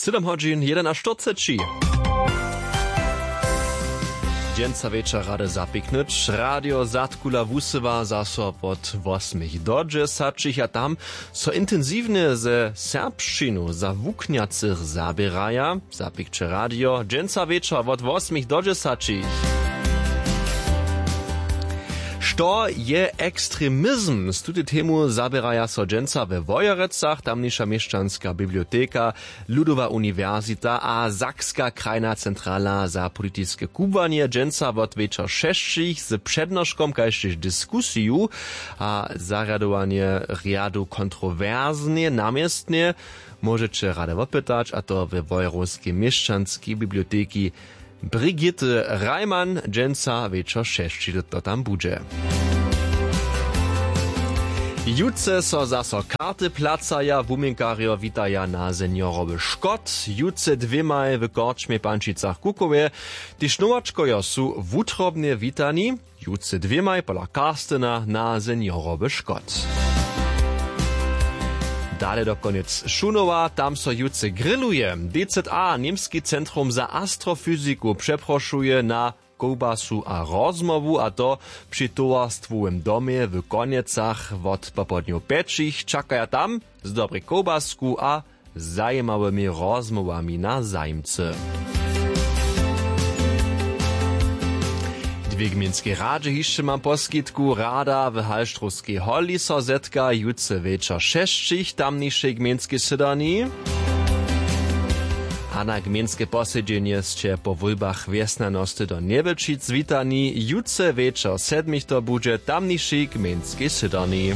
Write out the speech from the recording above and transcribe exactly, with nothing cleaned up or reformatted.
Sydom hodźin jedenaštyrceći. Dźensa wječor rady zapiknyć radio zadkula wusyła zaso wot wosmich do dźesaćich a tam so intensiwnje ze serbšćinu za wuknjacych zaběraja. Zapikće radio dźensa wječor wot wosmich do dźesaćich. Što je ekstremizm? Z tutej temu zaběraja so dźensa we Wojerecach tamniša měšćanska biblioteka, ludowa uniwersita a sakska krajna centrala za politiske kubłanje dźensa wot wječor šesćich z přednoškom kaž tež diskusiju a zarjadowanje rjadu kontrowersnje na městnje. Móžeće rady wopytać a to we wojerowskej měšćanskej biblioteki. Brigitte Reimann dźensa wječor šesći to tam budźe. Jutře so zaso karty placaja wuměnkarjo witaja na seniorowy škot. Jutře dwěmaj w korčmje pančicach kukowje. Tež nowačkojo su wutrobnje witani. Jutře dwěmaj pola karstena na seniorowy škot. Dale do konjec šunowa tam so jutře grilluje. D Z A němski centrum za astrofyziku přeprošuje na kołbasu a rozmołwu a to při towarstwowym domje w konjecach wot popołdnjow pjećich čakaja tam z dobrej kołbasku a zajimawymi rozmołwami na zajimcy. Dwě gmejnskej radźe hišće mam poskitku rada w halštrowskej holi so zetka jutře wječor šesćich tamnišej gmejnskej sydarni. A na gmejnske posedźenje sće po wólbach wjesnjanosty do njewjelčic witani jutře wječor sedmich to budźe tamnišej gmejnskej sydarni.